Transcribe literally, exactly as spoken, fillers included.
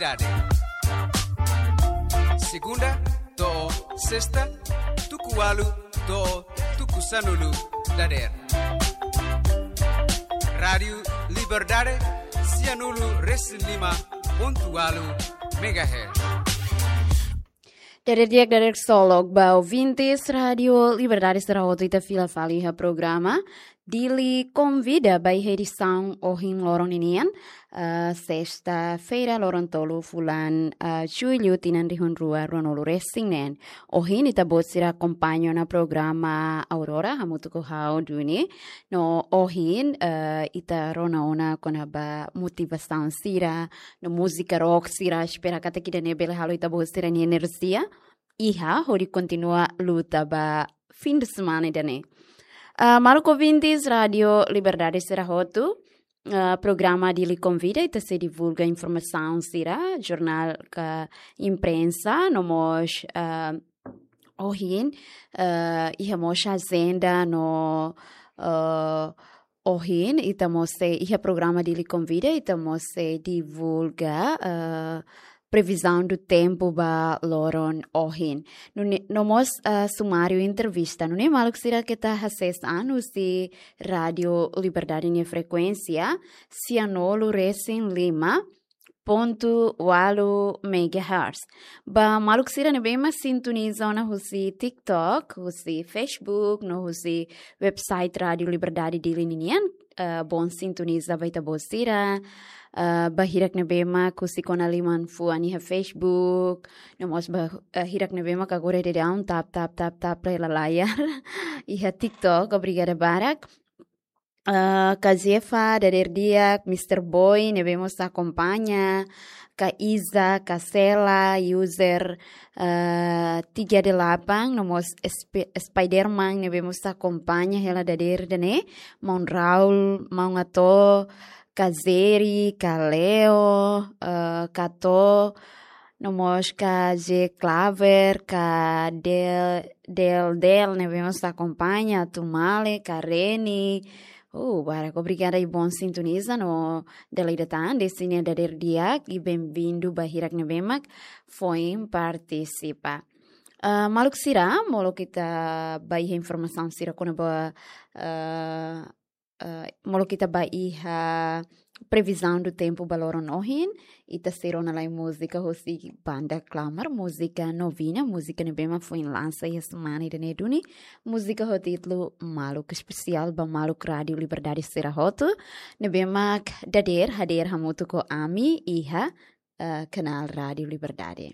Dade. Segunda to'o sesta, tuku ualu to'o tuku sanulu dadeer. Rádiu Liberdade, sianulu resin lima pontu ualu megahertz. Dadeer di'ak, dadeer ksolok ba ouvintes Rádiu Liberdade sira hotu, ita fila fali iha programa Dili Konvida ba iha edisaun ohin loron ninian, eh, sesta-feira, loron tolu fulan, eh, Jullu, tinan rihun rua ruanulu resin neen. Ohin ita-boot sira akompaña ona programa Aurora, hamutuk ho ha'u Duni. No ohin, eh, ita rona ona kona-ba motivasaun sira, no múzika rock sira, espera katak ida-ne'e bele halo ita-boot sira-nia enerjia iha hodi kontinua luta ba fin de semana ida-ne'e. Ah, maluk ouvintes Rádiu Liberdade sira hotu, ah, programa Dili Konvida ita sei divulga informasaun sira, jornál ka imprensa, no mós, ah, ohin, ah, iha mós ajenda no, ah, ohin, ita mós sei, iha programa Dili Konvida, ita mós sei divulga, ah, previsão do tempo ba loron ohin. Nune'e, no mós, ah, sumáriu entrevista. Nune'e maluk sira keta hasees an husi Rádiu Liberdade nia frekuénsia, sianulu resin lima pontu ualu megahertz. Ba maluk sira ne'ebé mak sintoniza ona husi TikTok, husi Facebook, no husi website Rádiu Liberdade Dili ninian, eh, bom sintoniza ba ita-boot sira, eh, ba hirak ne'ebé mak husik ona liman fuan iha Facebook, no mós ba, eh, hirak ne'ebé mak agora daudaun tap, tap, tap, tap, hela layar iha TikTok, obrigada barak. Eh, Kak Zefa, dadeer di'ak, Mister Boy, ne'ebé mós akompaña, Kak Iza, Kak Sela, user, eh, tiga delapan, no mós Sp-, Spiderman, ne'ebé mós akompaña hela dadeer ida-ne'e, Maun Raul, Maun Ato, Kak Zeri, Kak Leo, eh, Kak To, no mós Kak J Claver, Kak Del, Del, Del, ne'ebé mós akompaña, Atu Male, Kak Reni. Uh, barak obrigada i bom sintoniza no dala ida tan, dehan sira dadeer di'ak i bem-vindo ba hirak ne'ebé mak foin partisipa. Ah, maluk sira, molok ita ba iha informasaun sira kona-ba, ah, eh, molok ita ba iha previsão do tempo ba loron ohin, ita sei rona lai múzika husi banda Klamar, múzika Novina, múzika ne'ebé mak foin lansa iha semana ida-ne'e duni. Múzika ho títulu Maluk Espesiál ba maluk Rádiu Liberdade sira hotu, ne'ebé mak dadeer hadeer hamutuk ho ami iha, eh, kanál Rádiu Liberdade.